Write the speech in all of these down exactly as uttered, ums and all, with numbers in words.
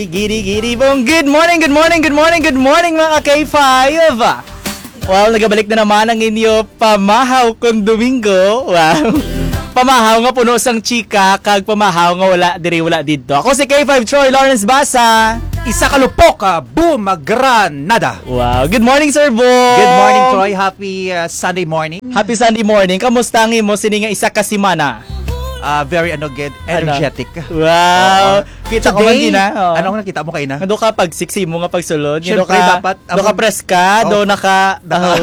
Gidi, gidi, boom. Good morning, good morning, good morning, good morning, mga K five. Well, nagabalik na naman ang inyo pamahaw kung Domingo. Wow. Pamahaw nga puno sang chika, kag pamahaw nga wala diri, wala didto. Ako si K five Troy Lawrence Basa. Isa ka lupok, ah, boom, granada. Wow. Good morning, Sir Boom. Good morning, Troy. Happy, ah, Sunday morning. Happy Sunday morning. Kamusta ang imo sini nga isa ka semana? Ah, very, ano, gid, Ano? energetic. Wow. Oo. Kita ko man Today, din, ah. Oo. Ano ang nakita mo kaina? Nga do ka pag sexy mo nga pagsulod. Nga do Siyempre, ka, dapat do ka ang preska, do Oh. naka, Naka-,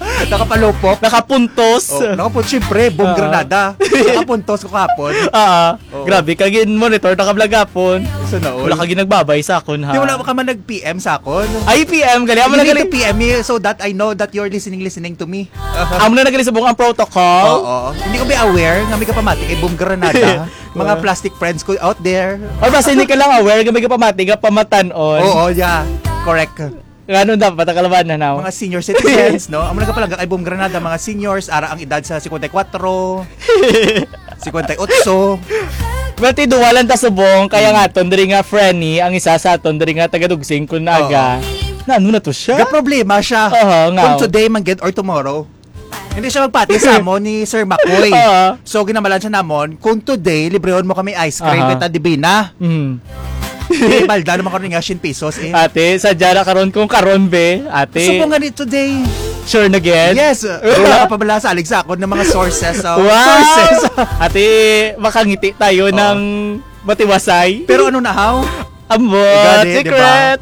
ah, nakapalupok. nakapuntos. Oh, nakapun-, siyempre, boom Oo. granada. Nakapuntos ko kahapon. Oo. Oo. Grabe, kag in-monitor na ka vlog hapon. Sa naon? Wala ka ginagbabay sa akon, ha? Di, wala ka man nag-P M sa akon. Ay, P M, gali. Amo You na need gali. to P M me so that I know that you're listening, listening to me. Amo na nagali subong ang protocol. Oo. Hindi ko ba aware nga may kapamati kay Boom Granada? Mga Wow. plastic friends ko out there. Or basta hindi ka lang aware nga may kapamati nga pamatan-on. Oo, yeah. Correct. Nga ano dapat ang kalabanan, no? Mga senior citizens, no? Amo nagapalangga kay Boom Granada, mga seniors, ara ang edad sa cincuenta y cuatro, cincuenta y ocho. Bati, duwa lang ta subong, kaya nga aton diri nga Frenny, ang isa sa aton diri nga taga-Dugsing kun aga. Oo. Na ano na to siya? Ga problema siya. Aha, nga. Kung today man gid or tomorrow. Hindi siya magpati sa amo ni Sir Makoy. Oo. So, ginamalan siya namon, "Kung today, librehon mo kami ice cream, Aha. kita di ba na?" Mm. Di, balda naman karon nga siyam pesos, eh. Ate, sadya na karon kung karon, be. Ate. Subong gani today. Sure na gid? Yes. Wala ka pa bala salig sa akon ng mga sources, oh. Wow! Sources. Ate, makangiti tayo Oo. ng matiwasay. Pero ano na, how? Ambot, Gani, di ba? secret.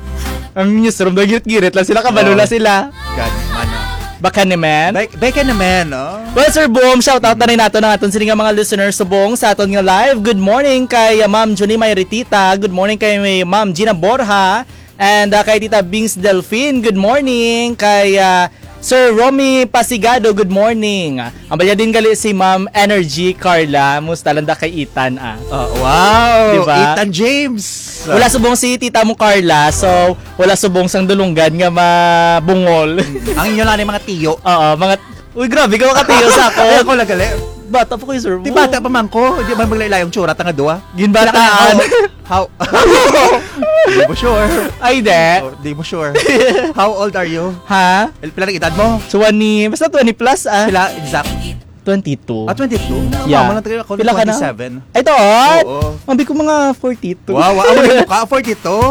Ang newsroom, nagirit-girit lang sila, kabalo Oo. lang sila. Gani, mana. Baka naman. Be-, beka naman, no? Well, Sir Boom, shout out na rin nato ng aton sini nga mga listeners subong sa aton nga live. Good morning kay, uh, Ma'am Junie Mayritita. Good morning kay Ma'am Gina Borja. And, uh, kay Tita Bings Delfin, good morning. Kay, uh, Sir Romy Pasigado, good morning. Ang balya din gali si Ma'am Energy Carla. Musta lang da kay Ethan, ah? Oh, wow! Diba? Ethan James! Wala subong si tita mo, Carla. So, wala subong sang dulunggan nga mabungol. Ang inyo lang yung mga tiyo. Oo, mga, uy, grabe ka makatiyo sa ako. Ay, ako lang gali. Bata pa ko yung Sir Di Boom. bata pa man ko. Di man maglailay ang tsura, tanga duwa. Ginbataan. Kailangan, how, how, Di mo sure. Ay, di. Oh, di mo sure. How old are you? Ha? El-, pila ang edad mo? Twenty, basta twenty plus, ah. Pila exact? Twenty-two. Ah, twenty-two? Yeah. Mama lang tayo ako, Pila ka na? twenty-seven. Ay, to, ah? Oo. Ang bi ko mga forty-two. Wow, wow. Ang mukha, forty-two?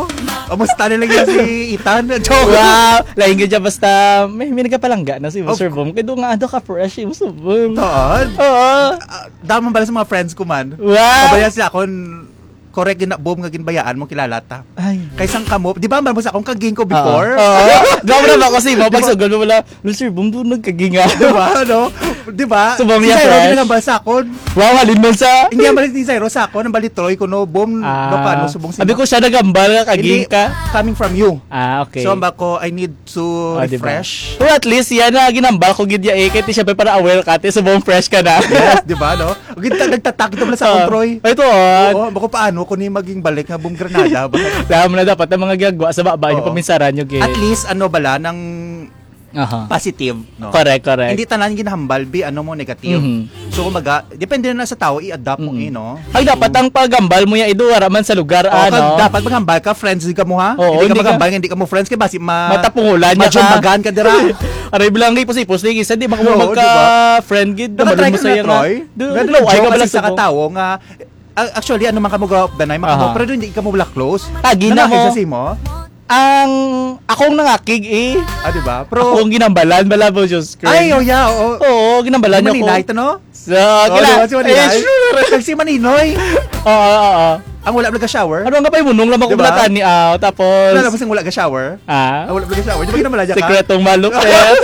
Kamusta na lang yan si Ethan? Joke. Wow. Lain ka dyan, basta may, may nagkapalangga na si Of Sir Boom. Kaya doon nga, ano ka fresh, yung Sir Boom. Toon? Oo. Ah, damo bala sa mga friends ko man. Wow. Pabaya sila akon, correct gina-, Boom nga ginbayaan mo, kilala ta. Ay. Kay sang kamo, di ba, ambal mo sa akong kaging ko Oo. before? Oo. Grabe na ba kasi mo, Di ba? pagsugod mo wala, "Lo, Sir Boom, doon nagkaging, ah." Di ba, no? Di ba? Subong Si niya, Jairo, fresh. ginambal sa akon. Wow, halin man sa Hindi, ambal ni Jairo sa akon, ang balitroy ko, no? Boom, Ah. no, paano, subong Sabi sino? ko siya nagambal nga kaging Hindi, ka. coming from you. Ah, okay. So, ambal ko, I need to Oh, di ba? refresh. Well, at least, yan na, ginambal ko gid ya eh. Kaya ti, syempre, para aware ka, ti, subong fresh ka na. Yes, di ba, no? Gid-, nagtatak ito pala sa Oo. akon, Troy. Ay, ito, ah. Oo, bako paano ko ni maging balik nga Boom Granada ba? Dahil mo na dapat ang mga gagwa sa baba niyo, Oo. paminsaran niyo, gid. At least, ano bala, nang Aha. positive, no? Correct, correct. Hindi tanan ginahambal, bi, ano mo, negative. Mhm. So, kumbaga, depende na sa tao, i-adapt mo, Mm. eh, no? Ay, dapat So, ang paghambal mo yan, ido, wala man sa lugar, Oo, ano? kag dapat maghambal ka, friends din ka mo, ha? Oo, Hindi ka hindi ka maghambal, hindi ka mo friends, kaya basi ma-, Matapungulan niya ka. majumbagan ka dira. Aray, bilang ipos-ipos, di, isa, di, baka mo Oo, magka-friend, gid, Naka-try nabalon mo ka sa na, iya nga. Troy? Do, Pero low, ay joke ka kasi bala sa subong. katawo nga, ah, actually, ano man ka mo go up the night, man ka mo, Oo. pero hindi ka mo wala close. Tagi na Nangakig mo. sa simo? Ang, akong nangakig, eh. Ah, di ba? Pero Akong ginambalan, bala mo, Diyos ko. Ay, oh, yeah, oo. Oo, ginambalan Di niya ko. maninay, to, no? So, Oo, kila, di ba, si Maninay? eh, sure. Kag si Maninoy. Oo, oo, oo. Ang wala nag-shower? Ano nga pa yung munong lamang Di ba? kumulatan ni, ah, tapos Wala lang siyang wala ga-shower? Ah? Ang wala nag-shower. Di ba ginamalayan ka? Sekretong malupit.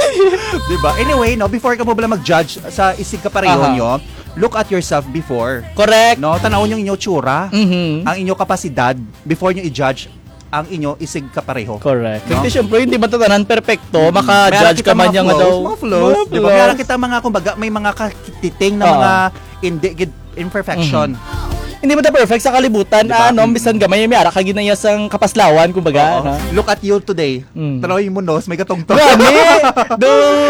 Di ba? Anyway, no, before ka mo bala mag-judge sa isig kapareho Aha. nyo, look at yourself before. Correct. No, tanawon yung inyo tsura, Mhm. ang inyo kapasidad, before nyo i-judge ang inyo isig kapareho. Correct. No? Kasi syempre, hindi man tatanan perfecto, Mm. maka-judge May ka man kita mga niya nga flaws, daw. mga flaws, Mga di ba? May flaws. kita mga, kumbaga, may mga katiting na Oo. mga hindi gid imperfection. Mhm. Hindi mo ta perfect sa kalibutan, Di ba? ano, Mm. bisan gamay, may ara ka ginaya sang kapaslawan, kumbaga, Oo. no? Look at you today. Mm. Tanaw yung munos, may katungtong. Gani! Do!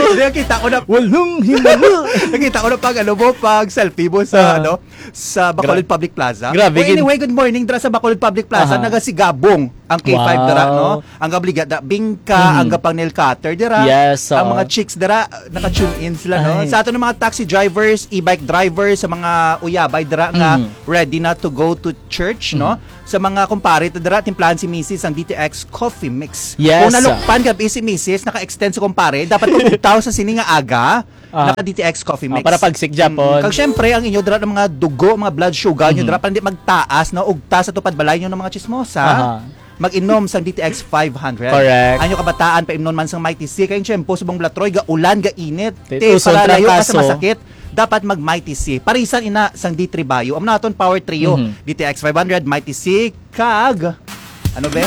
Hindi, kita ko na. Walong himala! Nakita ko na pag, ano mo, pag selfie mo sa, Ah. ano, sa Bacolod Gra-, Public Plaza. grabe, Oh, gin- anyway, good morning, dira sa Bacolod Public Plaza. Aha. Nagasigabong ang K five dira, Wow. no? Ang gabaligya dira, bingka, Mhm. ang gapang nail cutter dira. Yes, Ang oo. mga chicks dira, naka-tune in sila, no? Ay. Sa aton mga taxi drivers, e-bike drivers, sa mga uyabay dira nga Mhm. ready na to go to church, no? Mhm. Sa mga kumpare, ta dira, timplahan si misis ang D T X Coffee Mix. Yes, Kung sir. nalukpan ka, si misis, naka-extend sa kumpare, dapat kung ugtaw sa sini nga aga, Ah. naka-D T X Coffee Ah, Mix. para pagsik, Japon. Mm. Kag syempre, ang inyo dira ng mga dugo, mga blood sugar, nyo Mhm. dira, para hindi magtaas, no? Ugta sa tupad balay nyo ng mga chismosa. Aha. Mag-inom sang D T X five hundred. Correct. Ang inyo kabataan, paimnon man sang Mighty C. Kay ang tiyempo, subong bala, Troy, gaulan, gainit. Ti-, Te, uson para layo ka sa trangkaso. masakit, dapat mag-Mighty C. Parisan ina sang D three Bio. Amo na aton Power Trio. Mhm. D T X five hundred, Mighty C, kag, ano ba?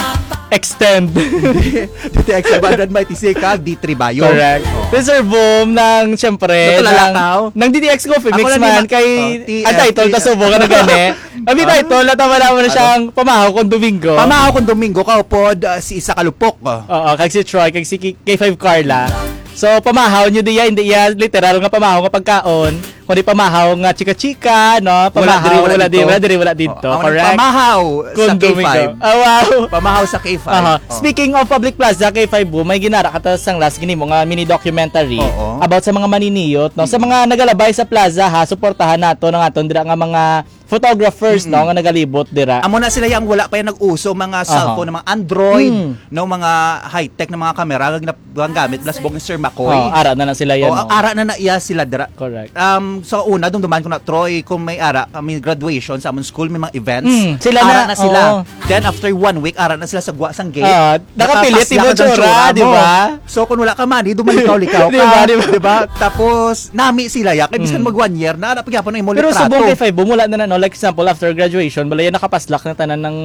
Extend. D T X five hundred, Mighty C, kag D three Bio. Correct. Oh. Then, Sir Boom, nang, siyempre, Natulala nang, ka, oh. nang D T X Coffee Ako Mix lang man, ni ma-, kay, oh, T F, ang title, T F. Kasubo ka na gani. Abi Ah. title, natama naman na Ano? siyang Pamahaw kung Domingo. Pamahaw kung Domingo, kaupod, ah, si Isa Kalupok, ah. Oo, kag si Troy, kag si K-, K five Carla. So, pamahaw nyo diya, hindi iya literal nga pamahaw nga pagkaon, kundi pamahaw nga chika-chika, no? Wala Pamahaw, diri, wala wala diri, dito. wala diri, wala dito. Oh, ang Correct? pamahaw sa Kung K five. Domingo. Ah, wow. Pamahaw sa K five. Aha. Oh. Speaking of Public Plaza, K five Boom, may ginara ka ta sang last gini mo nga mini documentary Oo. about sa mga maniniyot, no? Sa Mm. mga nagalabay sa plaza, ha, suportahan nato ng aton dira nga mga photographers, Mm. no, nga nagalibot dira. Amo na sila yang wala pa yung nag-uso, mga Aha. cellphone, mga Android, Mm. no, mga high-tech na mga kamera nga ginap-, ang gamit, plus bong Sir Makoy. Oh, ara na na sila yan, Oh, no? ara na na iya sila dira. Correct. Um, sa una, dumduman ko na, Troy, kung may ara, kami graduation sa among school, may mga events. Mm, sila Ara na, na sila. oo. Then, after one week, ara na sila sa gwa sang gate. Ah, nakapilit, Nakapaslak ibo ang tsura, tsura di mo. ba? So, kung wala ka money, dumalikaw-likaw Di ka. ba, di ba? Di ba? Tapos, nami sila, ya. Kay bisan Mm. mag one year na, ara pa gyapon ang imo Pero litrato. subong kay Five Boom, wala na na, no? Like, example, after graduation, balaya nakapaslak na tanan ng,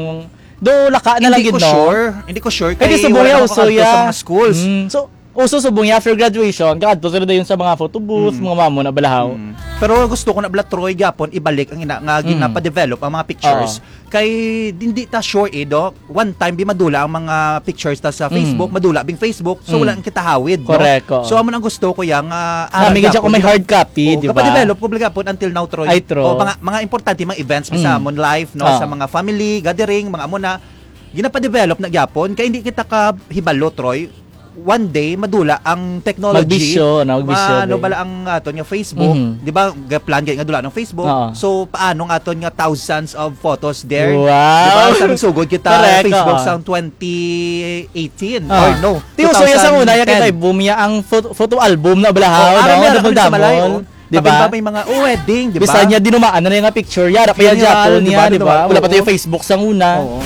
do, laka na lang Hindi gid, ko no? sure. Hindi ko sure. Kay Kay subong wala ya, na ako uso kaadto ya. sa mga schools. Mm. So, uso subong ya after graduation, kaadto sila dayon sa mga photo booth, Mm. mga mamo na balahaw. Mm. Pero gusto ko na bala, Troy, gyapon, ibalik ang ina nga Mm. ginapadevelop ang mga pictures. Oo. Kay hindi ta sure, eh, do. One time, bi madula ang mga pictures ta sa Mm. Facebook, madula bing Facebook, so Mm. wala nang kita hawid, no? Correct, oo. So, amo nang gusto ko yang, ah, Nami ara gid ako may gyapon, hard copy, oo, di ba? Kapadevelop ko bala gyapon until now, Troy. Ay, true. O, mga, mga importante, mga events, Mm. sa amon life, no? Ah. Sa mga family, gathering, mga amo na, ginapadevelop na gyapon, kay hindi kita ka hibalo, Troy. One day, madula ang technology. Magbisyo, no? Magbisyo, Ma-, ano day. bala ang aton nga Facebook? Mhm. Di ba, ga-, plan gani nga dula ng Facebook? Oo. So, paano nga aton nga thousands of photos there? Wow. Di ba, sa sugod kita Correct, Facebook oo. sang twenty eighteen? Ah. Or no, Ti uso ya sa una, ya two thousand ten. kay Boom ya ang photo, photo album na balahaw, Oh, ara no? meron kami sa balay, Double-double. oh. Di ba? Kapin pa may mga, oh, wedding, di ba? Bisan niya dinumaan na niya nga picture, yara pa ya Funeral, Japon di niya, ba? di Di ba? ba? Wala pa tayo Oo. Facebook sang una. Oo.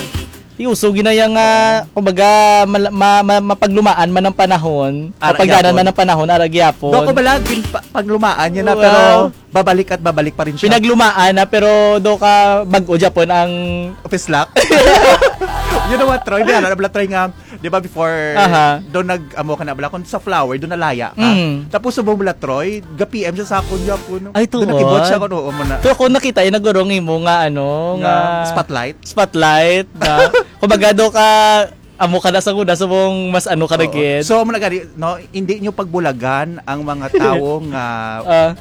Ti uso gina ya nga, kumbaga, mal-, ma-, ma-, mapaglumaan man ang panahon, Ara mapagdanan gyapon. man ang panahon, ara gyapon. Do ko bala, gin-, pa-, paglumaan niya na, Wow. pero babalik at babalik pa rin siya. Pinaglumaan na, pero do ka bag-o Japon ang Office lock. You know what, Troy? Di, ano, bala, Troy, nga, di ba, before, Aha. do nag-, amo ka na, bala, kung sa flower, do nalaya ka. Mm. Tapos, subong bala, Troy, ga-P M siya sa akon, Japon. Ay, Do nakibot tuod. siya kung oo mo na. Pero kung nakita, eh, nagurong imo nga, ano, Nga nga spotlight? spotlight, na, kumbaga, do ka, amo ka na sa una, subong mas ano ka na Oo. gid. So, amo na gani, no, hindi nyo pagbulagan ang mga tawo nga Ah.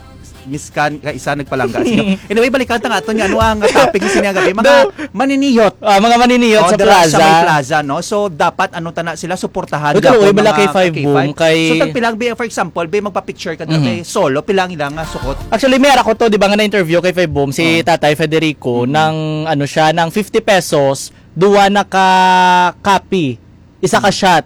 miskan ka isa nagpalangga sa inyo. Anyway, balikan ta nga ato nga ano ang topic sa sining gabi. Mga Do- maniniyot. Ah, mga maniniyot Oh, sa dira plaza. sa may plaza, no? So, dapat ano ta na sila suportahan Uy, gyapon kaluoy bala mga kay Five ka-K five. Boom, kay So, tagpilang, be, for example, be, magpa-picture ka dira, Mhm. be, solo, pila ang ilang, ah, suot? Actually, may ara ko to, di ba, nga na-interview kay Five Boom, si Oh. Tatay Federico, Mhm. ng, ano siya, ng fifty pesos, duwa na ka copy, isa ka Mhm. shot.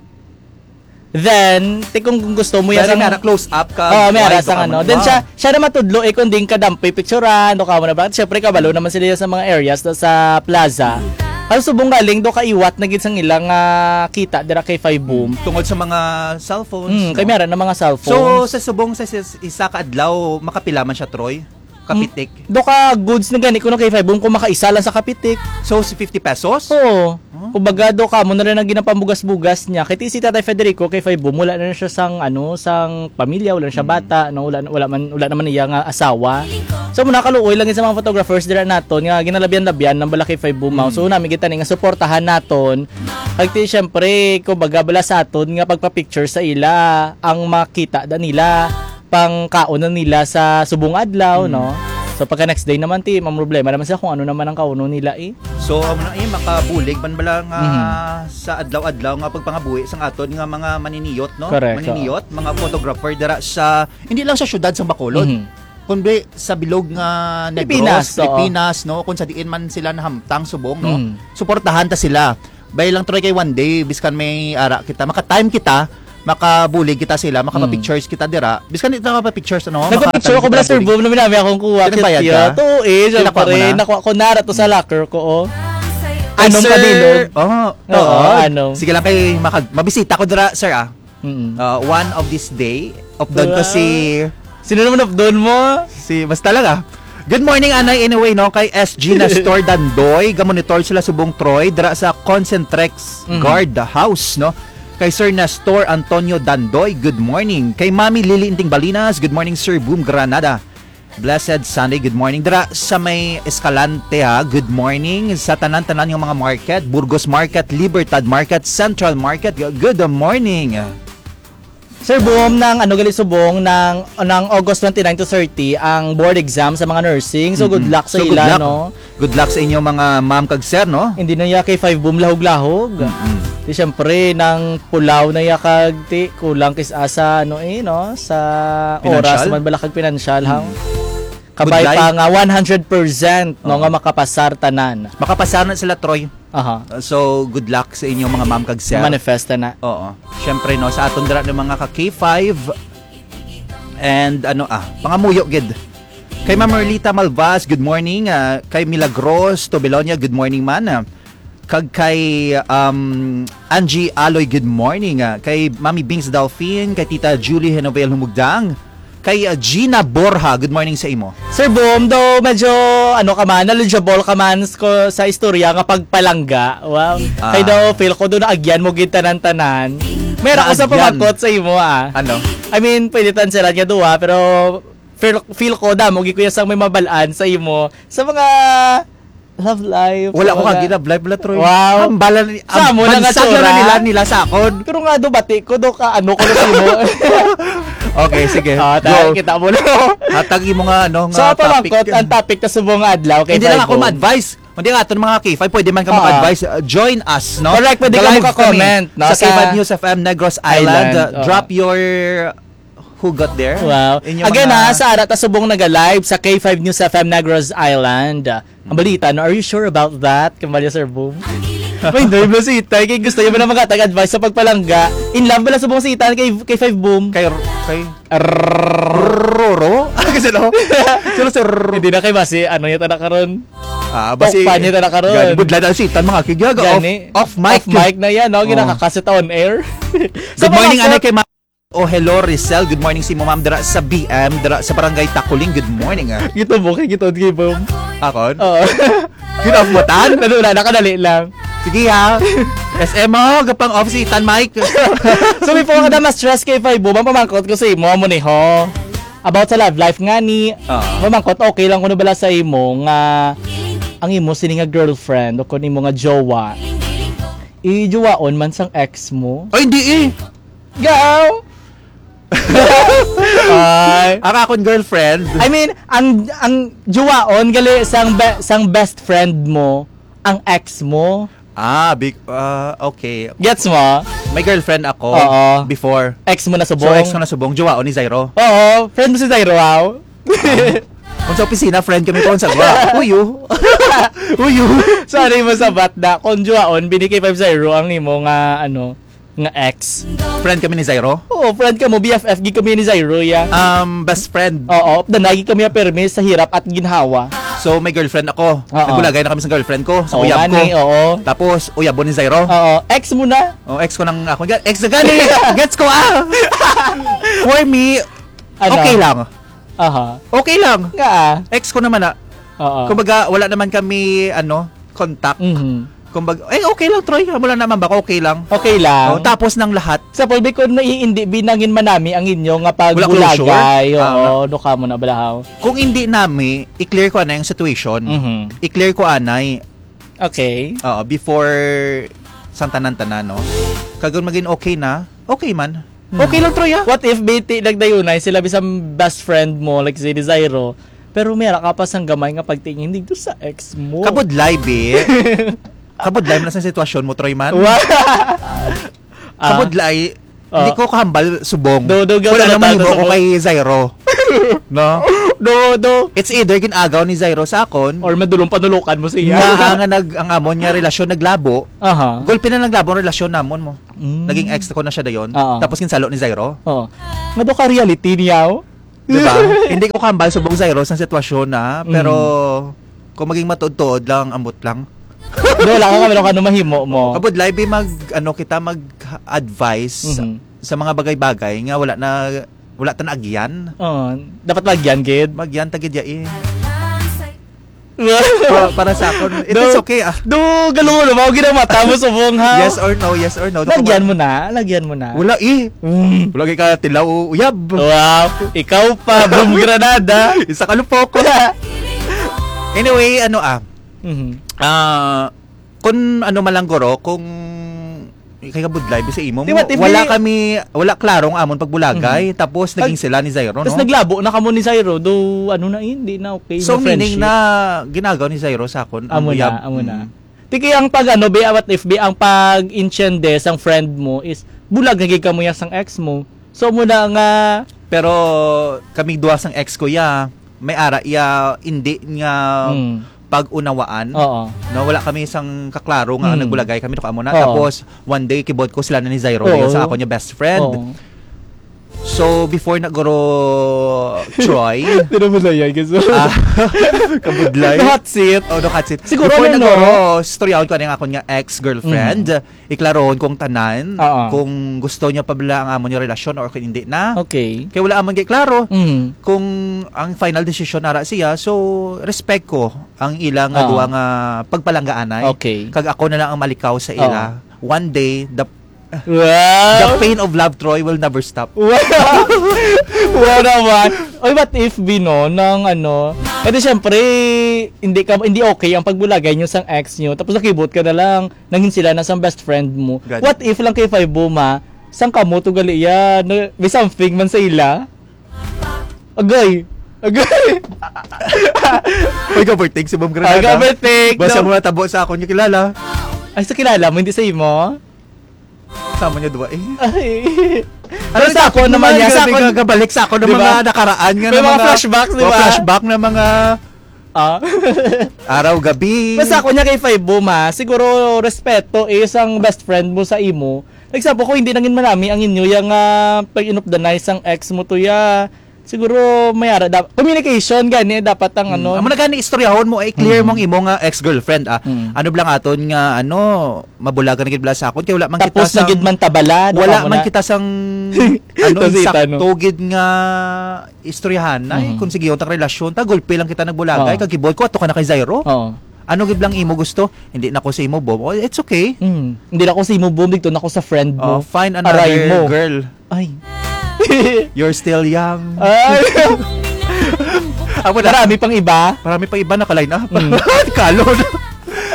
Then, ti kung, kung gusto mo yan Pero sang may ara close up ka, Oo, may ara wide sang ka ano. man. Then Wow. siya, siya na matudlo, eh, kung di ka dampi picturean, o kamo na ba? Siyempre, kabalo naman sila sa mga areas na sa plaza. Ang subong galing, do kaiwat na gid sang ilang, ah, kita dira kay Five Boom. Tungod sa mga cellphones, Mm, no? kay may ara na mga cellphones. So, sa subong sa, sa isa ka adlaw, makapila man siya, Troy? Kapitik? Mm, do ka goods na gani kuno kay Five Boom kung makaisa lang sa kapitik. So, si fifty pesos? Oo. Oh. Kumbaga, do ka mo na rin ang ginapambugas-bugas niya. Kay ti si Tatay Federico, kay Five Boom, wala na siya sang, ano, sang pamilya, wala na siya Mm. bata, no? Wala, wala man, wala naman iya nga asawa. So, muna kaluoy lang sa mga photographers dira naton nga ginalabyan-labyan ng bala kay Five Boom, mao. Mm. So, nami kita ni nga suportahan naton. Kag ti, syempre, kumbaga, bala sa aton nga pagpa-picture sa ila ang makita da nila pang kaon na nila sa subong adlaw, Mm. no? So, pagka next day naman, ti, ang problema naman sila kung ano naman ang kauno nila, eh. So, amo na, eh, makabulig man bala nga Mhm. sa adlaw-adlaw nga pagpangabuhi sang aton nga mga maniniyot, no? Correct, Maniniyot, mga photographer dira sa, hindi lang sa syudad sang Bacolod, Mhm. kundi sa bilog nga Negros, Pilipinas, oo. Pilipinas, no? Kung sa diin man sila nahamtang subong, no? Mhm. Suportahan ta sila. Bay lang, Troy, kay one day, biskan may ara kita, maka-time kita, makabulig kita sila, Mm. makapa-pictures kita dira. Biskan di ta makapa-pictures, ano, Nagpa-picture makatanggi ko bala, kita Sir bulig. Boom, na minami akong kuha, Kaya nagbayad cute, ka? oh, eh, Tinakwa mo syempre, na? nakuha ko nara to sa Mm. locker ko, oh. Ay, Anong sir, kadilog? oh, Oo, oo. anong? Sige lang kay makag-, mabisita ko dira, sir, ah. Mm. Uh, one of this day, upload ko Wow. si Sino naman upload mo? Si, basta lang, ah. Good morning, Anay. Anyway, no, kay S G Nestor Dandoy, gamonitor sila subong Troy, dira sa Concentrex Mhm. Guard House, no? Kay Sir Nestor Antonio Dandoy, good morning. Kay Mami Lily Inting Balinas, good morning, Sir Boom Granada. Blessed Sunday, good morning. Dira sa may Escalante, ha, good morning. Sa tanan-tanan nga mga market, Burgos Market, Libertad Market, Central Market, good morning. Sir Boom, nang ano gali subong, nang, nang August twenty-nine to thirty ang board exam sa mga nursing. So, good Mm-mm. luck sa So, good ila, luck. no? Good luck sa inyo, mga ma'am kag sir, no? Hindi na ya kay Five Boom lahog-lahog. Mm-mm. Di syempre, nang pulaw na ya kag ti, kulang kis asa, ano eh, no? Sa Financial? oras man bala kag pinansyal, ha? Mm. Kabay Good pa life. nga one hundred percent, no, Oo. nga makapasar tanan. Makapasar na sila, Troy. Aha. Uh, so, good luck sa inyo, mga ma'am kag sir. Manifesta na. Oo. Siyempre, no, sa aton dira ng mga ka K five and ano, ah, pangamuyo gid. Kay Ma'am Merlita Malvas, good morning. Ah, kay Milagros Tobelonia, good morning man. Ah, kag kay, um, Angie Aloy, good morning. Ah, kay Mami Bings Delphine, kay Tita Julie Henovel Humugdang, kay, ah, Gina Borja, good morning sa imo. Sir Boom, though medyo, ano ka man, knowledgeable ka man s-, ko, sa istorya nga pagpalangga. Wow. Ah. Kay daw, feel ko doon, naagyan mo gid tanan-tanan. Meron ko sa Naagyan. pamangkot sa imo, ah. Ano? I mean, pwede tan sila nga duha, pero feel, feel ko, damo gid kuya sang may mabalaan sa imo. Sa mga love life, Wala sa ko mga kagi love life, wala, Troy. Wow. Hambalan ni, Sa amo na nga bansa na tsura. nila, nila sa akon. Pero nga do, bati ko do ka, ano ko na sa imo. Okay, sige. Ah, ta-, Go. kita mo na. Hatag imo nga, ano, nga Sa topic. pamangkot, ang topic ta subong nga adlaw kay Hindi lang ako Five O. ma-advise. Hindi nga aton mga K five, pwede man ka Ah. mag-advise. Uh, join us, no? Correct, pwede ka Ga-live maka-comment, kami no? sa Sa K five News F M Negros Island. Island, Uh, oo. drop your who got there. Wow. Inyong Again, mga ha, sa ara ta subong naga-live sa K five News F M Negros Island. Ang balita, no? Are you sure about that? Kambalya, Sir Boom. May hindi, bro, si Itay. Kay gusto niya ba na makatag advice sa pagpalangga? In love ba lang subong si Itay kay, kay Five Boom? Kay, kay Roro? Kasi no? Sino si Roro? Hindi na kay basi, ano niya ta na karon? Ah, basi, Tokpan niya ta na karon. Gani, budla na si Itan, mga kigyaga. Gani. Off, off mic. Off mic na yan, no? Oh. Ginakakasit on air. Sa Good morning, mga anay, kay Ma-, oh, hello, Rizal. Good morning si mo, ma'am, dira sa B M, dira sa Barangay Takuling. Good morning, ah. Gito mo, kay gito, gito, boom. Akon? Oo. Gina-off mo, tan? Ano na, nakadali lang. Sige, ha. S M, oh, gapang off si Tan Mike. So, before ka na ma-stress kay Five Boom, ang pamangkot ko sa imo, amo ni ho. About sa love life nga ni, Ah. mamangkot, okay lang kuno bala sa imo nga ang imo sini nga girlfriend o kun imo nga jowa, ijowaon man sang ex mo? Ay, hindi eh. Gaw! Ay. Ang akon girlfriend. I mean, ang, ang jowaon gali sang be-, sang best friend mo, ang ex mo. Ah, big, ah, okay. Gets mo? May girlfriend ako Oo. before. Ex mo na subong? So, ex ko na subong. Jowaon ni Zairo. Oo, friend mo si Zairo, aw? Kung sa opisina, friend kami ko sa gwa. Uyo. Uyo. Sorry mo sa batda. Kung jowaon, bini kay five zero ang nimo nga, ano, nga ex. Friend kami ni Zairo? Oo, friend ka mo. B F F gid kami ni Zairo, ya. Um, best friend. Oo, danay gid kami permi sa hirap at ginhawa. So, may girlfriend ako. Oo. Nagulagay na kami sa girlfriend ko, sa Oo, uyab ko. gani, oo. Tapos, uyab mo ni Zairo? Oo, ex mo na. Oh, ex ko nang ako. Ex na gani. Gets ko, ah. For me, Ano? okay lang. Aha. Okay lang. Nga, ah. Ex ko naman, ah. Oo. Kumbaga, wala naman kami, ano, contact. Mhm. Kumbaga, eh, okay lang, Troy. Wala naman ba? Okay lang. Okay lang. Oh, tapos ng lahat. Sa pulbi ko, naiindi, binangin manami ang inyo nga Wala closure? pagbulagay. Ah, Oo, no ka mo na balahaw. Kung hindi nami, i-clear ko anay ang situation. Mhm. I-clear ko anay. Okay. Oo, before sang tanan-tanan, no? Kag kung maging okay na, okay man. Hmm. Okay lang, Troy, ah. What if, B T, nagdayunay sila bisan best friend mo, like si Desiro, pero may ara ka pa sang gamay nga pagtingin dito sa ex mo? Kabudlay, bi. Kabudlay man sa sitwasyon mo, Troy, man. Wa- Ah. Kabudlay, Ah. hindi ko kahambal subong. Do, do, Wala gawin namang na himo ko tayo kay Zairo. No? Do, do. It's either gin-agaw ni Zairo sa akon, Or madulong panulokan mo siya. nga ang, nag, ang amon nga relasyon naglabo, Aha. gulpi na naglabo ang relasyon namon mo. Mm. Naging ex ko na siya dayon. Oo. Tapos ginsalo ni Zairo. Oo. Nga do ka reality niya, oh. Di ba? Hindi ko kahambal subong Zairo sa sitwasyon na, pero Mm. kung maging matuod-tuod lang, ambot lang. Do, wala ka, wala ka, ano mahimo mo. Kabudlay, bi, mag, ano, kita mag-advise Mhm. sa mga bagay-bagay nga wala na, wala ta na agyan. Oo, dapat lagyan, gid. Magyan ta gid ya, eh. Pa-, para sa akon, it Do, is okay, ah. do, galo mo na ba? Ginamata mo subong, ha? Yes or no, yes or no. Lagyan mo na, lagyan mo na. Wala, eh. Mm. Wala kay ka tilaw o uyab. Wow, ikaw pa, boom granada. Isa ka lupok. Anyway, ano, ah, Mhm. ah, kung ano man lang, guro, kung kay kabudlay, bisa imo Di mo, ba, T V? wala kami, wala klaro ang amon pagbulagay, Mhm. tapos Pag-, naging sila ni Zairo, tas no? naglabo na kamo ni Zairo, do, ano na, eh, hindi na okay So, na meaning friendship. na ginagaw ni Zairo sa akon, ang Amo na, uyab. amo na. Mm. Tiki ang pag, ano, be, what if, be, ang pag-intiende sang friend mo is bulag na gid kamo ya sang ex mo. So, mo na nga Pero kami duha sang ex ko, ya, may ara iya, hindi nga Mm. pag-unawaan. Oo. No, wala kami isang kaklaro nga Mm. nagbulagay kami, no, amo na. Oo. Tapos, one day, kibot ko sila na ni Zairo, Oo. dayon sa ako niya best friend. Oo. So, before na guro Troy, Di na mo sayang, guys. ah, kabudlay. The hot seat. Oh, the hot seat. Siguro, Before ano, na no? guro, storyahon ko na yung akon nga ex-girlfriend. Mm. Iklarohon ko ang tanan, Oo. kung gusto niya pa bala ang amo niya relasyon or kung hindi na. Okay. Kay wala amon kay klaro Mm. kung ang final decision nara siya. So, respect ko ang ila nga Oo. duha nga pagpalanggaanay. Okay. Kag ako na lang ang malikaw sa ila. Oo. One day, the, Wow! the pain of love, Troy, will never stop. Wow! Wow naman. Oy, what if, Bino, nang ano, kasi syempre, hindi ka, hindi okay ang pagbulagay niyo sang ex niyo, tapos nakibot ka na lang, nangin sila na sang best friend mo. God. What if lang kay Five Buma, sang kamo to gali iya, na, may something man sa ila? Agay! Agay! Uy, ka-birthday si Ma'am Granada. Ay, ka-birthday, Basta no? mo natabo sa akon yung kilala. Ay, sa kilala mo, hindi sa imo? Sama niya duwa eh. Ay. Ano Pero sa sa ako akon naman naman, yan, sa grabe akon ka, kabalik sa ako ng Di ba? mga nakaraan nga May na mga mga, flashbacks, di mga ba? flashback na mga Ah. araw, gabi. Basta ako niya kay Five Boom, ha. Siguro, respeto is ang best friend mo sa imo. Like, sa ko, hindi nangin manami ang inyo yang, ah, pag inupdanay sang ex mo to ya. Siguro, may ara, da-, communication, gani, dapat ang Mm. ano. Amo na gani, istoryahon mo, eh, clear Mm. mong imo nga ex-girlfriend, ah. Mm. Ano bala nga aton nga, ano, mabulagan na gid bala sa akon, kay wala man Tapos kita na gid sang, man tabala, no, wala kamo man na. kita sang, ano, Tapos ita, no? insakto gid nga istoryahan na, eh, Mhm. kung sige, yung tang relasyon, ta, gulpi lang kita nagbulagay, Oo. kag gibol ko, ato ka na kay Zairo. Oo. Ano gid lang imo gusto? Hindi na ko sa imo, Bob. Oh, it's okay. Mm. Hindi na ko sa imo, Bob. Dito na ko sa friend mo. Oh, find Aray another mo. girl. Ay. You're still young. Ay. Ako na. Marami pang iba? Marami pang iba naka-line up. Mm. Kalon.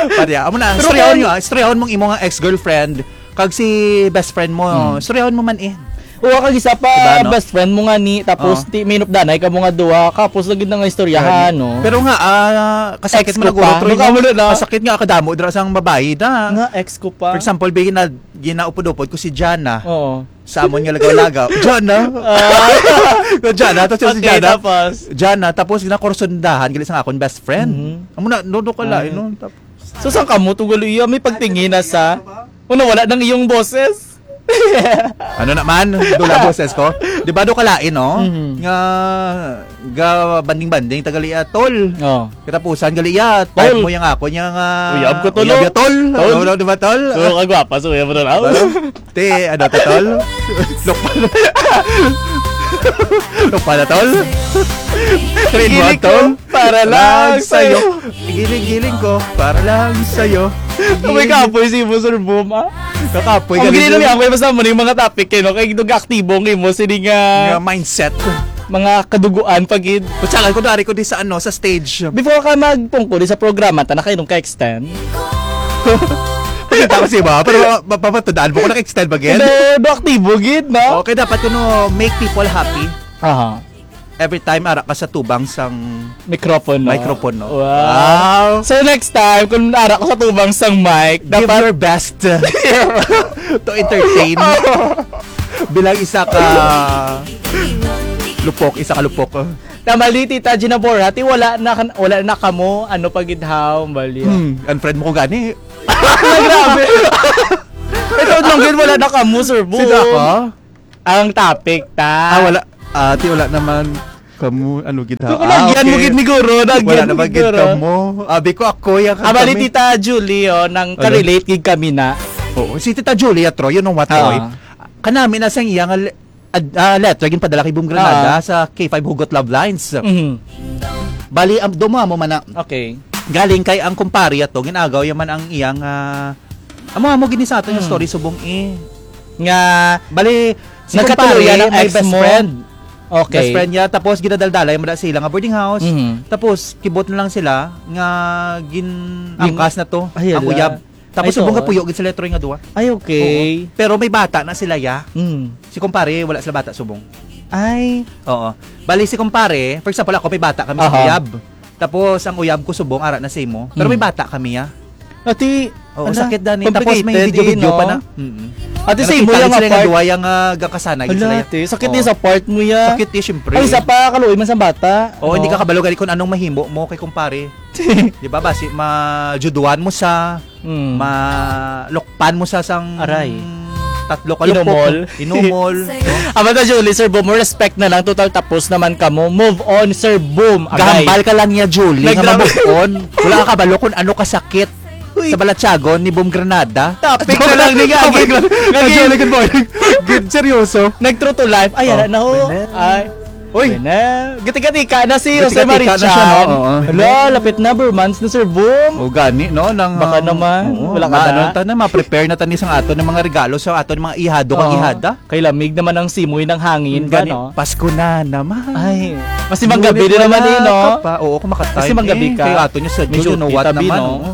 Pati, amo na, Pero istoryahon kung nyo, ah. Istoryahon mong imo nga ex-girlfriend. Kag si best friend mo, Hmm. istoryahon mo man eh. Oo, kag isa pa, Diba, no? best friend mo nga ni, tapos Oo. ti-, minupdanay ka mo nga duha, kapos lagi na nga istoryahan, Gani. no? Pero nga, ah, kasakit Ex mo ko na guro, pa. Troy, Mukha no? mo na, no? Kasakit nga, kadamo, dira sang babae na. Nga, ex ko pa. For example, bi, gina-, ginaupod-upod ko si Jana. Oo. Sa amon nga lagaw-lagaw. Jana? Ah. Jana, tapos si Okay, Jana. tapos? Jana, tapos ginakursundahan, gali sa akon best friend. Mhm. Amo na, no, no, kala, Ay. no? Tap- So, saan ka mo? Tugal iya, may pagtingin na sa, una, wala nang iyong boses. Ano naman? Dula boses ko. Di ba, do kalain, no? Mhm. Nga, ga banding-banding, tagal iya, tol. Oh. Katapusan, gali iya, type Tol. mo yung ako niya nga, Uyab ko, tol, uyab oh. ya, tol. Tol. Ano, di ba, tol? So, kagwapa, so, uyab mo, tol, oh. Ano? Te, ano, to, tol? Lokal. Ano pala, tol? Grade one, Giling ko tol? Para lang sa'yo. Giling-giling ko para lang sa'yo. May kapoy si Boss Sir Boom, ah. Kakapoy Ang ka gini dito. Lang ako, basta mo ning mga topic kayo, no? Kay nag-aktibo ang imo, sini nga Nga mindset. Mga kaduguan pa gid. Kutsakan ko dari ko di sa ano, sa stage. Before ka magpungko di sa programa, ta na kayo nung ka-extend. Pakita ko si ba, pero ma- mapapatudaan mo ko nag-extend ba gid? Do, do aktibo gid, no? Okay, dapat kuno make people happy. Aha. Every time ara ka sa tubang sang Mikropono. Mikropono. Wow. Wow. So next time, kung ara ko sa tubang sang mic, Give dapat your best to entertain. Bilang isa ka lupok, isa ka lupok. Namali, Tita Gina Borja, ti wala na kan-, wala na kamo, ano pa gid haw, bali. Hmm, unfriend mo ko gani. Ay, grabe. Ito lang gid, wala na kamo, Sir Boom. Sino ako? Ang topic, ta. Ah, wala. Ah, ti wala naman kamo, ano gid ha? So, kung Ah, nagyan mo okay. Gid ni Guro, nagyan Wala mo naman gid gid Guro. Kamo. Abi ko ako, ya Ah, bali, kami. Tita Julie, oh, nang Ano? Ka-relate gid kami na. Oo, si Tita Julie, Troy, you know what, Ah. Troy? Kanami na sang iya nga le- ad- ah, letter ginpadala kay Boom Granada Ah. Sa K five Hugot Love Lines. Mhm. Bali, am, do mo amo man na. Okay. Galing kay ang kumpare ato, ginagaw yaman ang iyang, ah, amo, amo gini sa ato yung Hmm. Story subong eh. Nga, Bali, si nagkatuluyan kumpare, ang may ex best mo. Friend. Okay. Best friend niya, tapos ginadaldalay mo na sila nga boarding house. Mhm. Tapos, kibot na lang sila nga gin-, Gin-, angkas na to, ay, ang ala. Uyab. Tapos Ay, subong to. Kapuyo gid sila Troy nga duwa. Ay, okay. Oo. Pero may bata na sila, ya. Mm. Si kumpare, wala sila bata subong. Ay. Oo. Bali si kumpare, for example, ako may bata kami sa Aha. Uyab. Tapos ang uyab ko subong ara na sa imo. Pero may Mm. Bata kami, ya. Ati, Oo, ala, sakit, Dani. Tapos may complicated, video-video eh, no? Pa na. Mm-mm. Ati, sa imo yung sila nga part. Duwa yung, ah, gakasanay, Ala, sila, ya. Ati, sakit Oo. Din sa part mo, ya. Sakit, eh, syempre. Ay, isa pa, kaluoy man sa bata. Oo, hindi ka kabalo gali kung anong mahimo mo kay kumpare. Di ba, basi, majuduan mo sa, Mm. Malukpan mo sa sang Aray. Tatlo ka Inumol. Lupok. Inumol. Aba ta, Julie, Sir Boom, mo respect na lang. Total tapos naman ka mo. Move on, Sir Boom. Agay. Gahambal ka lang niya, Julie, nga Nagdrama. Ma-move on. Wala ka kabalo kung ano kasakit Uy. Sa balatyagon ni Boom Granada. Topic na lang ni Gagi. Topic lang. Gagi. Julie, good morning. Good, seryoso. Nag-true to life. Ay, Oh. Ara na ho. Wala. Ay. Uy. Wala. Gatika-tika na si Jose Gatika-tika na siya, Marichan. No? Oo. Hala, lapit na, Burmans na, Sir Boom. O, gani, no? Nang, Baka um, naman, oo, wala ka maano na. Ta na, ma-prepare na ta ni sang aton ng mga regalo sa aton mga ihado kang Oo. Ihada. Kay lamig naman ang simoy ng hangin ba, Gani, no? Pasko na naman. Ay, mas si Manggabi Ngunit din naman, wala eh, no? Ka pa. Oo, kumakatay. Mas si Manggabi Eh, ka. Kay ato niya sa May June, you know duty what tabi, naman, no? Oo.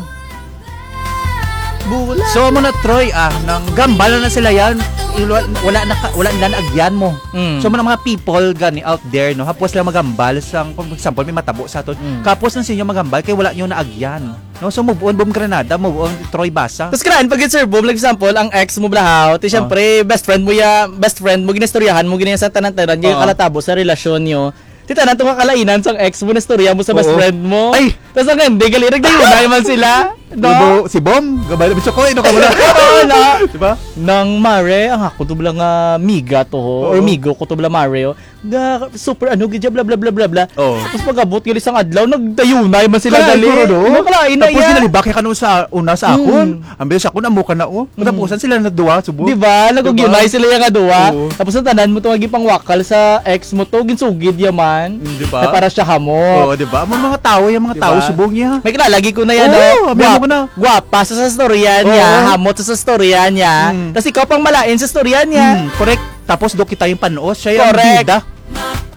Bula. So, mo na, Troy, ah, nang gambala na sila yan, ilo-, wala na ka, wala nila na agyan mo. Mm. So, mga, mga people gani out there, no, hapos lang magambal sa, for example, may matabo sa aton. Mm. Kapos lang sa inyo magambal, kay wala nyo na agyan. No, so move on, Boom Granada, move on, Troy Basa. Tapos kailangan pag Sir Boom, like example, ang ex mo, blahaw, ti Oh. Siyempre, best friend mo ya, best friend mo, ginistoryahan mo, gini sa tanan-tanan, yung Oo. Kalatabo sa relasyon nyo. Ti tanan to nga kalainan sang ex mo, nastorya mo sa best Oo. Friend mo. Ay! Tapos ang hindi, gali, nagdayunay man sila. No? Ano ba, si Bom? Gabay na, Mister Koy, ano ka wala? Oo, na. Di ba? Nang Mare, ang ako to bala nga miga to, ho, or Oo. Migo ko to bala Mare, oh. Nga, super, ano, gid siya, bla, bla, bla, bla, bla. Oo. Tapos pag-abot, gali sang adlaw, nagdayunay man sila Kalain gali. Ko, no? Ano, kalain na Tapos iya. Sinalibak niya kanong sa una sa akon. Mm. Ang bilis ako, namo ka na, oh. Mm. Katapusan sila na duwa, subo. Di ba? Nag-, Di ba? Nag-unite sila yung duwa. Oo. Tapos ang tanan mo to, nga gipangwakal sa ex mo to, ginsugid yaman. Mm, di ba? Na para siya hamo. Oo, di ba? Mga, mga tao, yung mga Di tao, ba? Subong niya. May kilala, gi ko na yan, Oo, no? Abi mo Guwap-, ko na. Guwapa sa, sa storya niya, Oo. Hamot sa, sa storya niya. Mm. Tas ikaw pang malain sa storya niya. Mm, correct. Tapos do kita yung panos, siya yung Correct. Bida.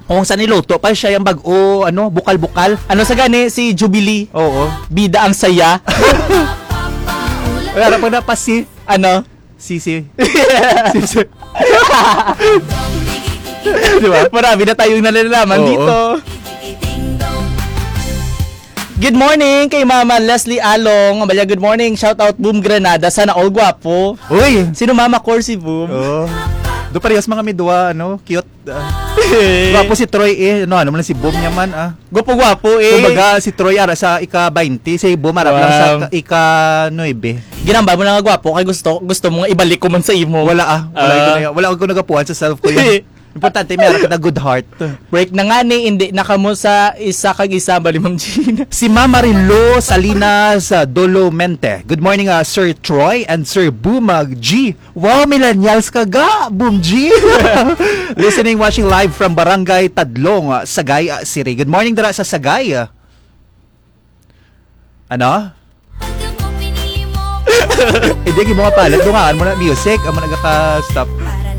Kung sa niluto pa, siya yung bag-o, ano, bukal-bukal. Ano sa gani, si Jubilee? Oo. Bida ang saya. Ay, harap mo na pa si Ano? Sisi. Sisi. Di ba? Marami na tayong nalalaman Oo. Dito. Good morning kay Mama Leslie Along. Amalya, good morning. Shout out, Boom Granada. Sana all gwapo. Uy! Sino Mama Corsi, Boom? Oo. Do parehas mga may duwa, ano, cute. Ah. Gwapo si Troy eh. Ano, ano mo lang si Boom niya man, ah. Gwapo-gwapo eh. Kumbaga, si Troy ara sa ika-baynte, si Boom ara lang sa Wow. ika-, ika-nuebe. Ginambal mo na nga gwapo kay gusto, gusto mo nga ibalik ko man sa imo. Wala, ah. Wala Ah. Ko na, wala ko nagapuhan sa self ko yun. Importante, meron ka na good heart. Break na nga ni, hindi na kamo sa isa kag isa, bali, Ma'am Gina. Si Ma'am Marilo Salinas, ah, Dolomente. Good morning, ah, Sir Troy and Sir Bumag G. Wow, millennials ka ga, Boom G. Listening, watching live from Barangay Tadlong, ah, Sagay, ah, City. Good morning, dira sa Sagay. Ano? Hindi, di mo kapalit. Dungaan mo na music. Amo na ka-stop.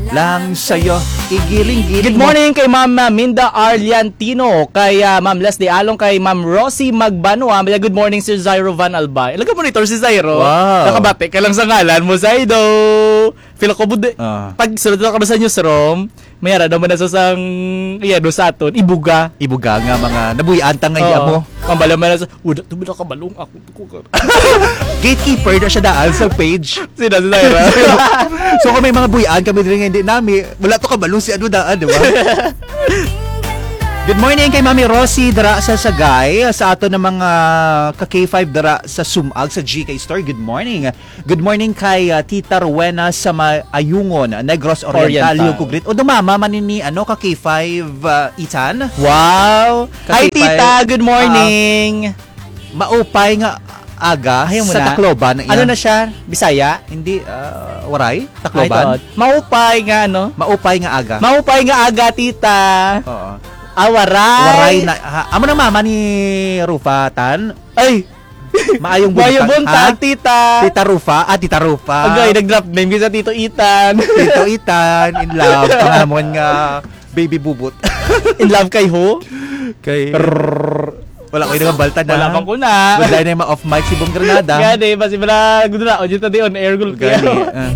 Lang sa'yo, igiling-giling Good mo. Morning kay Ma'am, uh, Minda Arliantino, kay, uh, Ma'am Leslie Along, kay Ma'am Rosie Magbanua. Maya, good morning, Sir Zairo Van Albay. Alam ka, monitor si Zairo. Wow. Nakabati ka lang sa ngalan mo, Zaido. Feel ko, budi-, Ah. pag sulod na kami sa newsroom, may ara naman na sa sang, iya, do sa aton, ibuga. Ibuga nga mga nabuhian ta nga iya Oo. mo. Ang bala man na sa, "Wala to, wala ka balong ako." Gatekeeper na siya daan sa page. Sino, si Zaira? So, kung may mga buhian kami diri nga hindi nami, wala to kabalong si ano daan, di ba? Good morning kay Mami Rosie dira sa Sagay, sa ato na mga ka K five dira sa Sumag, sa G K Store. Good morning. Good morning kay, ah, Tita Rowena sa Ma-, Ayungon, Negros Oriental. Oriental. Yung kugrit. O, dumama man ni, ano, ka K five, ah, Ethan? Wow! Ka Hi, K five. Tita! Good morning! Ah, maupay nga aga Ayaw mo sa na. Tacloban na Ano iya. Na siya? Bisaya? Hindi, ah, Waray? Tacloban? Ay, taod. Maupay nga, ano? Maupay nga aga. Maupay nga aga, tita. Oo. Ah, Waray. Waray na, ha? Amo na mama ni Rufa, Tan? Ay! Maayong Maayong buntag, buntag, ha? Tita. Tita Rufa. Ah, Tita Rufa. Agay, nag-drop name kita, Tito Ethan. Tito Ethan, in love. Pangamon nga baby bubot. In love kay who? Kay Rrrr. Wala ko yung balta na. Wala man ko na. Good line na yung ma-off mic si Bong Granada. Gani, basi bala, gudula, o dito di on air, gulpi. Gani, ah.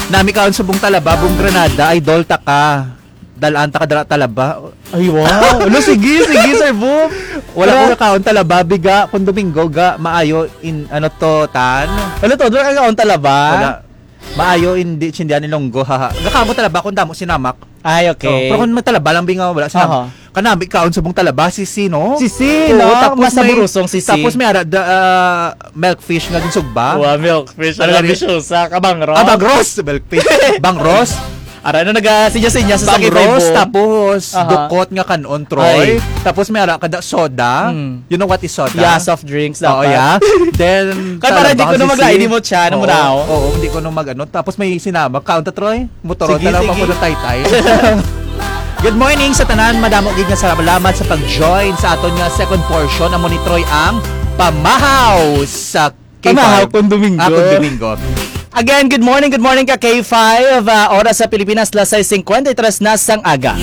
Nami kaon sa Bong Talaba, Bong Granada, idol ta ka. Dalaan ta ka dala talaba. Ay, wow. Ano, sige, sige, Sir Boom. Wala ko Wala. Nakaon talaba, biga, kung Domingo, ga, maayo, in, ano to, tan? Ano to, doon ka kaon talaba? Wala. Maayo, hindi, sindihan ni Longgo, haha. Gakamo talaba, kung damo sinamak. Ay, okay. Oh, pero kung may talaba lang, bingaw, wala sinamak. Aha. Kanami, kaon sa Bong Talaba, sisi, no? Sisi, Oo, no? Tapos Mas may, naburusong sisi. Tapos may ara, da, ah, milkfish nga ginsugba. Wow, milkfish. Ano Ano gani? Bisyo sa kabangros. Ah, bangros! Milkfish. Bangros. Ara, ano, naga-sinya-sinya sa Bangros, sakit, tapos Aha. Dukot nga kanon, Troy. Ay. Tapos may ara kada soda. Mm. You know what is soda? Yeah, soft drinks Oo, dapat. Yeah. Then, Kaya para di ko na talagang maglain sisi. Mo siya, ano mo Oo, na, oh? Oo, hindi ko na mag-ano. Tapos may sinama. Kaon ta, Troy? Motor Sige, na lang sige. Ako na taytay. Good morning sa tanan. Madamo gid nga salamat sa pag-join sa aton nga second portion. Amo ni Troy ang Pamahaw sa K five. Pamahaw kung Domingo. Ah, kung Domingo. Again, good morning, good morning ka K five. Ah, oras sa Pilipinas, las sais cincuenta y tres na sang aga.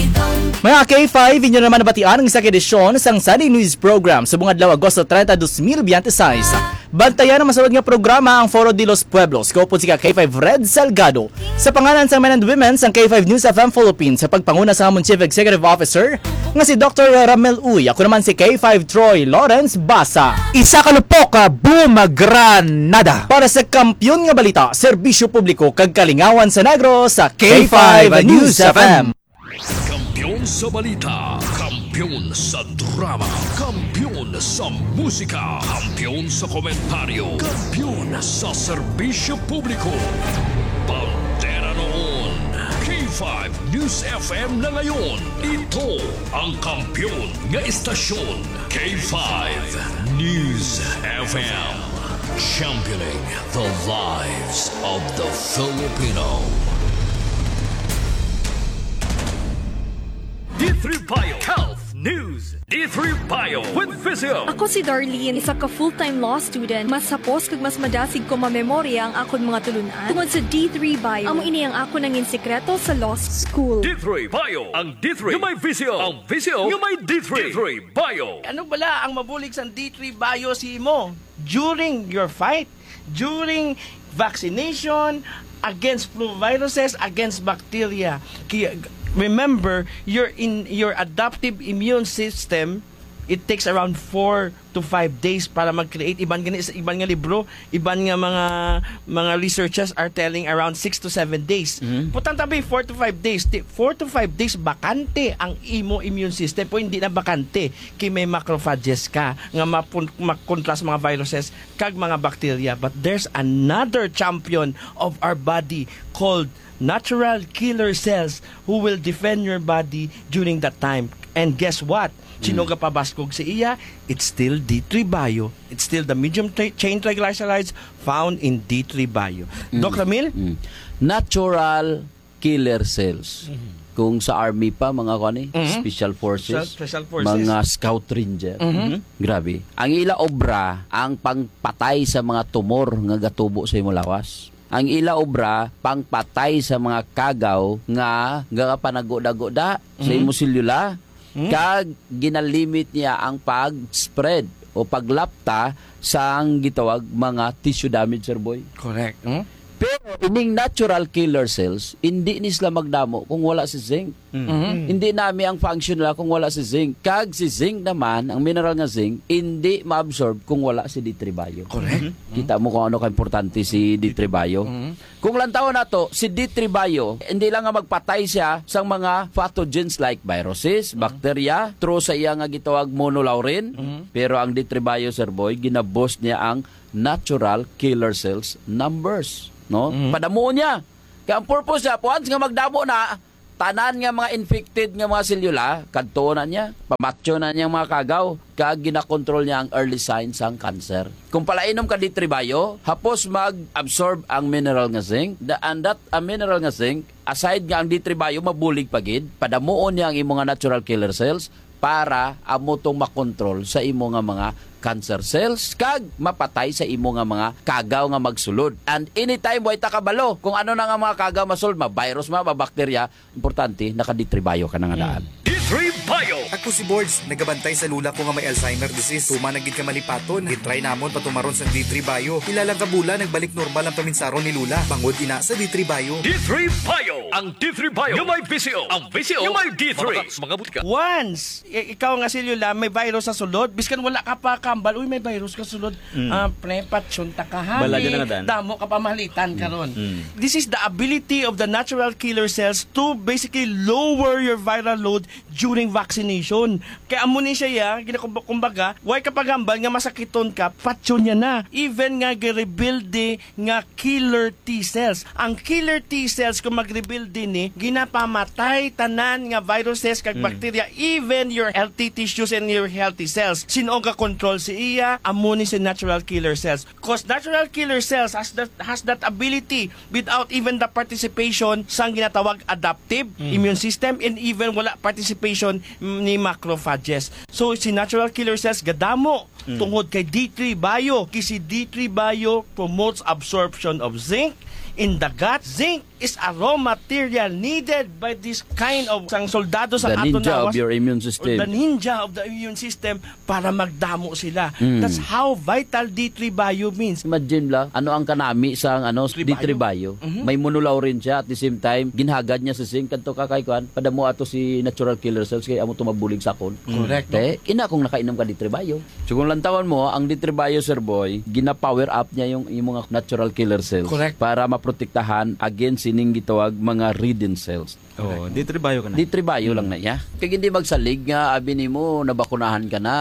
Mga K five, inyo naman nabatian ang isa ka edisyon sang Sunday News Program sa buong adlaw, Agosto treinta, dos mil veintiséis. Bantayan ang masulod nga programa, ang Foro de los Pueblos. Ko po si ka K five Red Salgado. Sa pangalan sa Men and Women sang K five News F M Philippines, sa pagpanguna sa amon Chief Executive Officer, nga si Doctor Ramel Uy, ako naman si K five Troy Lawrence Basa. Isa ka lupok, ah, Boom Granada. Para sa kampiyon nga balita, serbisyo publiko, kag kalingawan sa Negros, sa K five News F M. Kampiyon sa balita, kampiyon sa drama, kampiyon sa musika, kampiyon sa komentaryo, kampiyon sa serbisyo publiko. Bandera noon, K five News F M na ngayon. Ito ang kampiyon nga istasyon, K five News F M. Championing the lives of the Filipino. D three Bio Health News. D three Bio with Physio. Ako si Darlene, isa ka full-time law student. Mas hapos kag mas madasig ko mamemorya ang akon mga tulunan tungod sa D three Bio. Amo ini ang akon nangin sikreto sa law school. D three Bio, ang D three nga may Physio, ang Physio nga may D three. D three Bio. Ano bala ang mabulig sang D three Bio sa imo during your fight, during vaccination, against flu viruses, against bacteria? Kaya, remember, your in, your adaptive immune system, it takes around four to five days para mag-create. Iban gani sa iban nga libro, iban nga mga, mga researchers are telling around six to seven days. Mhm. Putang tabi, four to five days. Ti-, four to five days, bakante ang imo immune system. Pero hindi na bakante kay may macrophages ka nga mapun-, makontra sa mga viruses kag mga bacteria. But there's another champion of our body called natural killer cells who will defend your body during that time. And guess what? Sino Mm. gapabaskog sa iya? It's still D three Bio. It's still the medium tra-, chain triglycerides found in D three Bio. Mm. Doc Ramil? Mm. Natural killer cells. Mhm. Kung sa army pa, mga kuan eh, Mhm. special forces, Special, special forces. mga scout ranger. Mhm. Mhm. Grabe. Ang ila obra, ang pangpatay sa mga tumor nga gatubo sa imong lawas. Ang ila obra, pangpatay sa mga kagaw nga gapanaguda-guda sa Mhm. imong selula, Mhm. kag ginalimit niya ang pag-spread o paglapta sang gitawag mga tissue damage, Sir Boy. Correct. Hmm? Pero ining natural killer cells, hindi ni sila magdamo kung wala si zinc. Mm. Mhm. Hindi nami ang function nila kung wala si zinc. Kag si zinc naman, ang mineral nga zinc, hindi ma-absorb kung wala si D three Bio. Correct. Mhm. Kita mo kung ano ka-importante si D three Bio. Mhm. Kung lantawon nato, si D three Bio, hindi lang nga magpatay siya sa mga pathogens like viruses, Mhm. bacteria, through sa iya nga gitawag monolaurin, Mhm. pero ang D three Bio, Sir Boy, ginaboost niya ang natural killer cells numbers, no? Mhm. Padamuon niya. Kaya ang purpose niya, once nga magdamo na, tanan nga mga infected nga mga selula, kadto na niya, pamatyo na niya ang mga kagaw, kag ginakontrol niya ang early signs sang cancer. Kung palainom ka D three Bio, hapos mag-absorb ang mineral nga zinc, the, and that, ang mineral nga zinc, aside nga ang D three Bio, mabulig pa gid, padamuon niya ang imo nga natural killer cells para amo tong makontrol sa imo nga mga cancer cells, kag mapatay sa imo nga mga kagaw nga magsulod. And anytime, way ta kabalo kung ano na nga mga kagaw masulod, ma-virus ma, ma-bacteria, importante, naka-D three Bio ka na nga daan. D three Bio. Ako si Borge, nagabantay sa lula ko nga may Alzheimer disease. Tuman na gid ka malipaton. Gitry namon patumaron sang D three Bio. Pila lang ka bulan, nagbalik normal ang paminsaron ni Lula. Bangod ina sa D three Bio. D three Bio. Ang D three Bio nga may V C O. Ang V C O nga may D three. Mga, mga butika. Once i-, ikaw nga selula may virus sa sulod, biskan wala ka pa kambal, "Uy, may virus ka sulod." Mm. Ah, pre, patsyonta ka, ha? Bala dyan ang daan. Damo ka pamalitan karon. Mm. This is the ability of the natural killer cells to basically lower your viral load during vaccination. Kaya amo ni siya, ya, ginakumba-, kumbaga, way ka pagambal nga masakiton ka, patyon niya na. Even nga girebuild nga killer T cells. Ang killer T cells, kung mag-rebuild din ni, ginapamatay tanan nga viruses kag Mm. bacteria, even your healthy tissues and your healthy cells. Sin-o ga-control si iya? Amo ni si natural killer cells. 'Cause natural killer cells has that, has that ability without even the participation sang ginatawag adaptive Mm. immune system and even wala participation ni macrophages. So, si natural killer cells gadamo Mm. tungod kay D three Bio. Kay si D three Bio promotes absorption of zinc in the gut. Zinc is a raw material needed by this kind of sang soldado sa The aton ninja of lawas. your immune Or system. the ninja of the immune system para magdamo sila. Mm. That's how vital D three Bio means. Imagine la, ano ang kanami sang, ano, D three Bio? D three Bio? Mhm. May monolaurin siya, at the same time, ginhagad niya sa zinc, kadto ka kay kuan, padamo ato si natural killer cells, kay amo to mabulig sa akon. Correct, no? Te, ina kung nakainom ka D three Bio. So kung lantawan mo, ang D three Bio, Sir Boy, gina-power up niya yung, yung mga natural killer cells Correct. para maprotektahan against sining gitawag mga ridden cells. Oh, Correct. D three Bio ka na. D three Bio lang na iya. Kay hindi magsalig nga abi nimo nabakunahan ka na,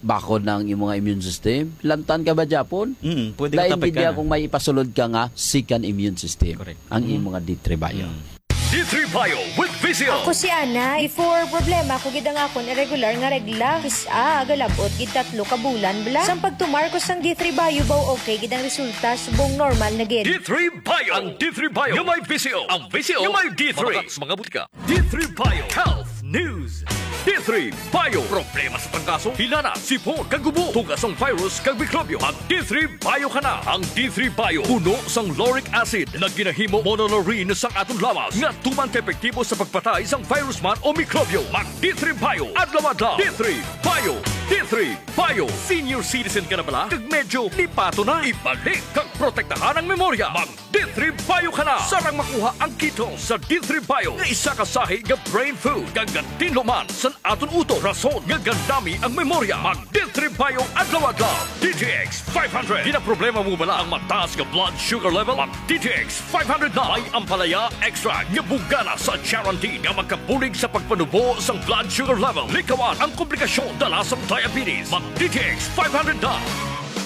bakod na ang imong immune system. Lantan ka ba, Japon? Mm, pwede ka Lain tapik gid ka niya na. kung may ipasulod ka nga second immune system. Correct. Ang Mm. imo nga D three Bio. Mm. D three Bio with V C O. Ako si Ana. Before, problema ko gid ang akon irregular nga regla. Kis-a, galabot gid tatlo ka bulan bala. Sang pagtumar ko sang D three Bio, baw okay gid ang resulta, subong normal na gid. D three Bio. Ang D three Bio nga may V C O. Ang V C O nga may D three. Mga butika. D three Bio Health News. D three Bio. Problema sa trangkaso, hilana, sipon, kag ubo, tugas sang virus kag mikrobyo. Mag D three Bio ka na. Ang D three Bio puno sang lauric acid na ginahimo monolaurin sang aton lawas nga tuman ka epektibo sa pagpatay sang virus man o mikrobyo. Mag D three Bio adlaw-adlaw. D three Bio. D three Bio. Senior citizen ka na bala? Kag medyo lipato na? Ibalik kag protektahan ang memorya. Mag D D three Bio ka na. Sarang makuha ang ketone sa D three Bio nga isa ka sahi nga brain food. Kag gatinlo man sa aton utok, rason nga gandami ang memorya. Mag D three Bio adlaw-adlaw. D T X five hundred. Ginaproblema mo bala ang mataas nga blood sugar level? Mag D T X five hundred na. May ampalaya extract nga bugana sa charantin nga makabulig sa pagpanubo sang blood sugar level. Likawan ang komplikasyon dala sang diabetes. Mag D T X five hundred na.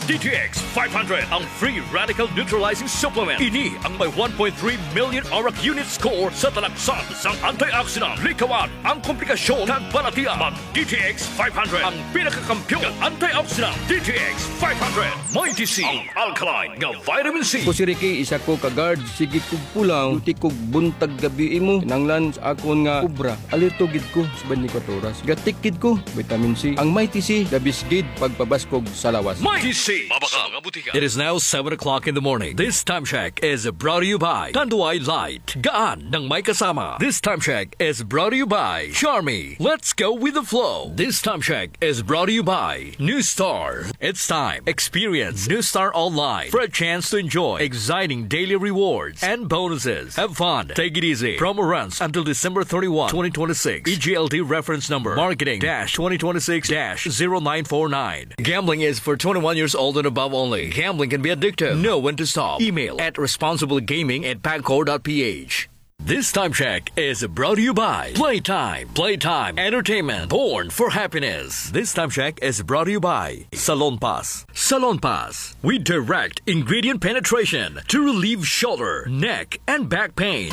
D T X five hundred, ang free radical neutralizing supplement. Ini ang may one point three million ORAC unit score sa talaksan sang antioxidant. Likawan ang komplikasyon kag balatian. Mag D T X five hundred, ang pinakakampiyon nga antioxidant. D T X five hundred, Mighty C, ang alkaline nga vitamin C. Ko si Ricky, isa ko ka guard. Sige kog pulaw, duty kog buntag gabi imo. Kinanglan sa akon nga obra. Alerto gid ko sa twenty-four oras. Gatik gid ko, vitamin C. Ang Mighty C, the best gid pagpabaskog sa lawas. Mighty C. Mabaka mga butika. It is now seven o'clock in the morning. This time check is brought to you by Tanduay Light. Gaan ng may kasama. This time check is brought to you by Charmy. Let's go with the flow. This time check is brought to you by New Star. It's time. Experience New Star Online for a chance to enjoy exciting daily rewards and bonuses. Have fun. Take it easy. Promo runs until December thirty-one, twenty twenty-six. E G L T reference number marketing dash twenty twenty-six dash zero nine four nine. Gambling is for twenty-one years old and above only. Gambling can be addictive. Know when to stop. Email at responsiblegaming at pagcor dot P H. This time check is brought to you by Playtime. Playtime Entertainment, born for happiness. This time check is brought to you by Salon Pass. Salon Pass. We direct ingredient penetration to relieve shoulder, neck, and back pain.